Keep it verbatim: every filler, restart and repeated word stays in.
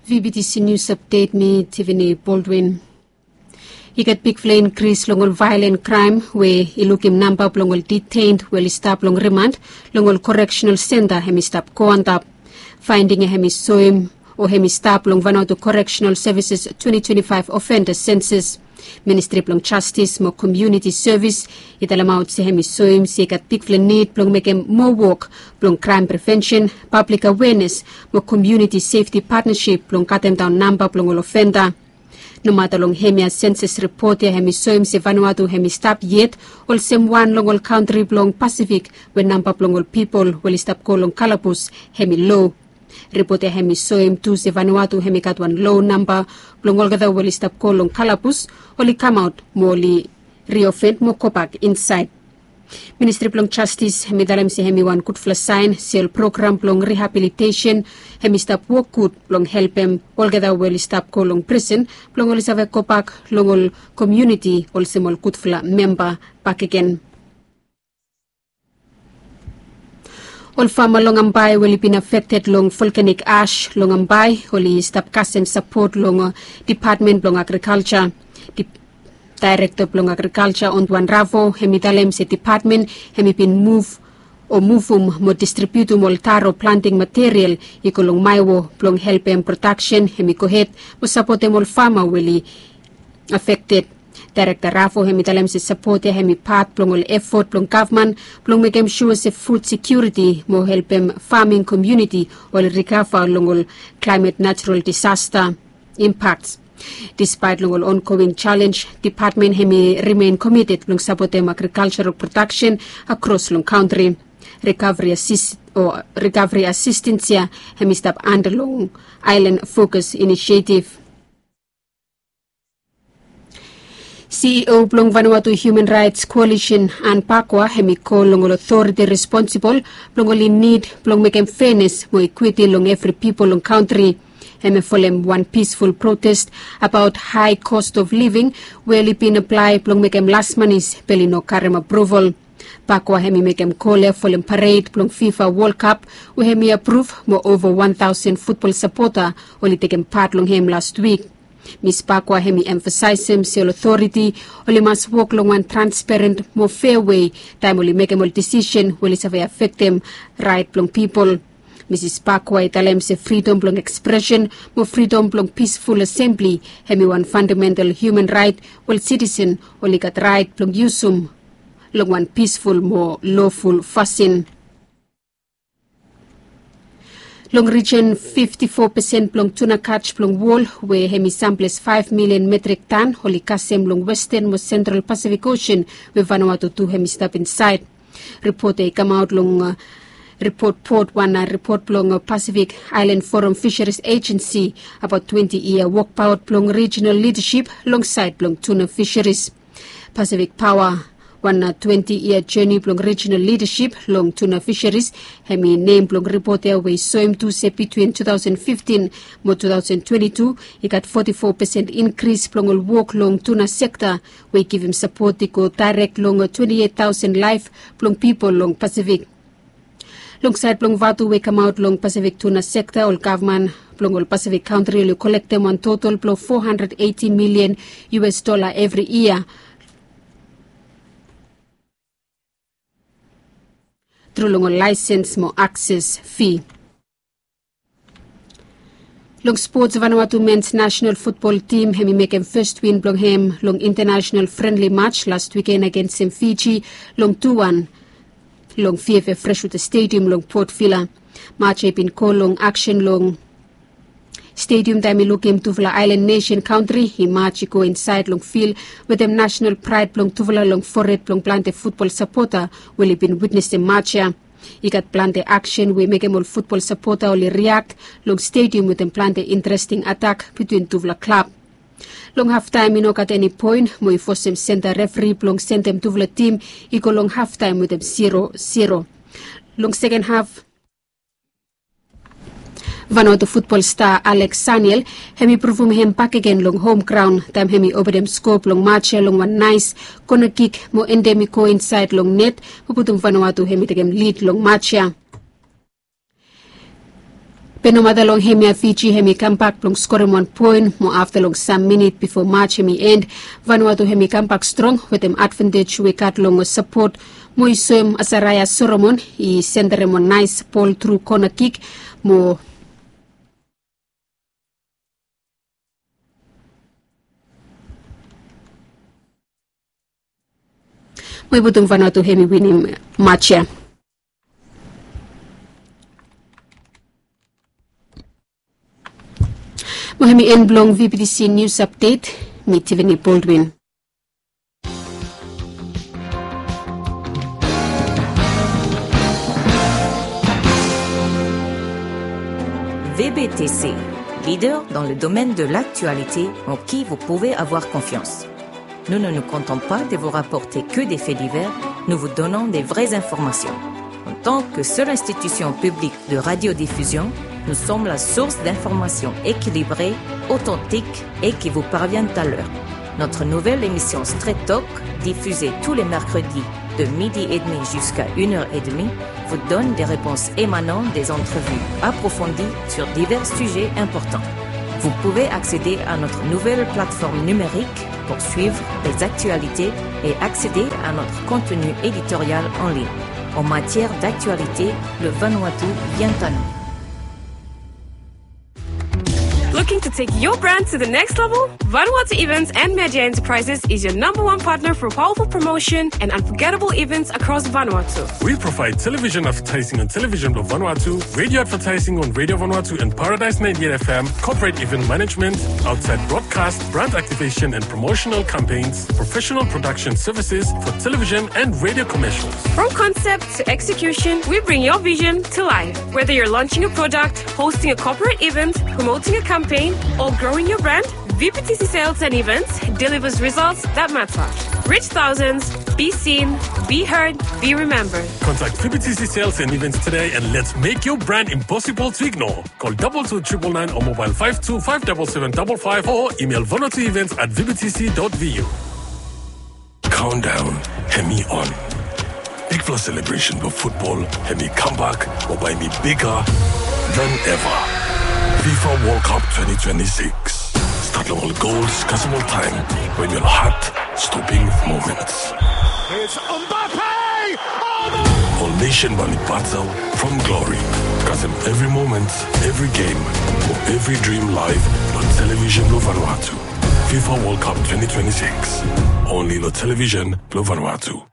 V B T C News Update, mi Tiffany Baldwin. I gat bigfala inkris long ol vaelen kraem we i lukim namba blong ol detained we oli stap long rimand long ol correctional center hem i stap go antap. Faending ya hem i soem o hem i stap long Vanuatu Correctional Services twenty twenty-five offender census. Ministri blong Jastis mo Komuniti Sevis i talemaot se hem i soem se i gat bigfala nid blong mekem moa wok blong kraem prevensen, pablik awenes mo komuniti sefti patnasip blong katemdaon namba blong ol ofenda. Nomata long hemia, census ripot ya hem i soem se Vanuatu hem i stap yet olsem wan long ol kantri blong Pasifik we namba blong ol pipol we oli stap go long kalabus hem i lo. Ripot ya hem i soem tu se Vanuatu hem i gat wan lo namba blong olgeta we oli stap go long kalabus, oli kamaot mo oli riofen mo gobak insaed. Ministri blong Jastis hem i talem se hem i wan gudfala saen se ol program blong rihabilitesen hem i stap wok gud blong helpem olgeta we oli stap go long prisen blong oli save gobak long ol komuniti olsem ol gudfala memba bakegen. Ol fama long Ambae we oli bin afekted long volkanik ash long Ambae oli stap kasem sapot long dipatmen blong agrikalja. Daerekta blong agrikalja Onduan Ravo hem i talem se dipatmen hem i bin muv o muvum mo distribiutum ol taro planting material i go long Maewo blong helpem prodaksen hem i gohed mo sapotem ol fama we oli afekted. Daerekta Ravo hem i talem se sapot ya hem i pat blong ol efot blong gavman blong mekem sua se fud sekiuriti mo helpem faming komuniti oli rikava long ol klaemet natural disasta impaks. Dispaet long ol ongoing jalenj, dipatmen hem i rimen komited blong sapotem agrikaljaral prodaksen akros long kantri. Rikavri asistens ya hem i stap anda long Aelan Fokus Inisietiv. CEO blong Vanuatu Human Raets Koalisen, Ann Pakwa, hem i kol long ol otoriti responsibol blong oli nid blong mekem fenes mo ikwiti long evri pipol long kantri. Hem i folem wan pisful protest abaot hae kos of living we oli bin aplae blong mekem las manis be oli no karem apruval. Pakwa hem i mekem kol ya folem pared blong FIFA Wol Kap we hem i apruv mo ova wan taosen futbol sapota oli tekem pat long hem lastwik. Mis Pakwa hem i emfasaesem se ol otoriti oli mas wok long wan transparen mo fea wei taem oli mekem ol disisen we oli save afektem raet blong pipol. Misis Pakwa i talem se fridom blong ekspresen mo fridom blong pisful asembli hem i wan fandamental hiuman raet we ol sitisen oli gat raet blong yusum long wan pisful mo loful fasin. Long rijen, fifti fo pesen blong tuna kaj blong wol we hem i samples faef milian metrik tan oli kasem long Westan mo Sentral Pasifik Osen we Vanuatu tu hem i stap insaed. Ripot ya i kamaot long ripot pot wan ripot blong Pasifik Aelan Foram Fisheris Ejensi abaot twenti yia wokbaot blong rijinal lidasip long saed blong tuna fisheris. Pasifik Paoa, wan twenti yia jeni blong rijinal lidasip long tuna fisheris, hem i nem blong ripot ya we i soem tu se bitwin tu taosen fiftin mo tu taosen twenti tu i gat foti fo pesen inkris blong ol wok long tuna sekta we i givim sapot i go daerek long twenti eit taosen laef blong pipol long Pasifik. Long saed blong vatu we i kamaot long Pasifik tuna sekta, ol gavman blong ol Pasifik kantri oli kolektem wan total blong fo handred eiti milian US dola evri yia tru long ol laesens mo akses fi. Long spots, Vanuatu mens nasenal futbol tim hem i mekem fes win blong hem long intanasenal frenli maj las wiken agensem Fiji long tu wan long Fiafe Freshwater Stadium long Port Vila. Maj ya i bin go long aksen long stadium taem i lukim tufala aelan nesen kantri i maj i go insaed long fil wetem nasenal praed blong tufala long fored blong plante futbol sapota we oli bin witnesem maj ya. I gat plante aksen we i mekem ol futbol sapota oli riak long stediam wetem plante interesting atak bitwin tufala klab. Long haftaem i no gat eni poen mo i fosem senta refri blong sendem tufala tim i go long haftaem wetem zero zero. Long seken haf, Vanuatu futbol sta Alex Saniel hem i pruvum hem bakegen long hom graon taem hem i openem skoa blong maj ya long wan naes kona kik mo endem i go insaed long net mo putum Vanuatu hem i tekem lid long maj ya. Be nomata long hemia Fiji hemi kambak blong skorem wan poen mo afta long sam minit bifo maj hemi en, Vanuatu hemi kambak strong wetem advantej we i gat long sapot mo i soem Asaraia Soromon i senderem wan naes bol tru kona kik mo mo i putum Vanuatu hemi winim maj ya. Mo hemi en blong VBTC News Update. Mi Tiffany Baldwin. VBTC, leader dans le domaine de l'actualité en qui vous pouvez avoir confiance. Nous ne nous contentons pas de vous rapporter que des faits divers, nous vous donnons des vraies informations. En tant que seule institution publique de radiodiffusion, nous sommes la source d'informations équilibrées, authentiques et qui vous parviennent à l'heure. Notre nouvelle émission Straight Talk, diffusée tous les mercredis de midi et demi jusqu'à une heure et demie, vous donne des réponses émanant des entrevues approfondies sur divers sujets importants. Vous pouvez accéder à notre nouvelle plateforme numérique pour suivre les actualités et accéder à notre contenu éditorial en ligne. En matière d'actualité, le Vanuatu vient à nous. Looking to take your brand to the next level? Vanuatu Events and Media Enterprises is your number one partner for powerful promotion and unforgettable events across Vanuatu. We provide television advertising on Television Blue Vanuatu, radio advertising on Radio Vanuatu and Paradise ninety-eight F M, corporate event management, outside broadcast, brand activation and promotional campaigns, professional production services for television and radio commercials. From concept to execution, we bring your vision to life. Whether you're launching a product, hosting a corporate event, promoting a campaign, or growing your brand, VPTC Sales and Events delivers results that matter. Reach thousands, be seen, be heard, be remembered. Contact VPTC Sales and Events today and let's make your brand impossible to ignore. Call double two triple nine or mobile five two five double seven double five or email vanuatuevents at vbtc dot vu. Countdown hemi on. Bigfala celebration blong futbol hemi kambak mo bae hemi bigger than ever. FIFA World Cup twenty twenty-six. Stat long ol gols kasem ol taem wetem ol heart-stopping moments. It's Mbappe! Oh, no! Ol nesen bae oli battle from glory kasem evri moment, evri game, mo evri dream live long television blong Vanuatu. FIFA World Cup twenty twenty-six. Only long television blong Vanuatu.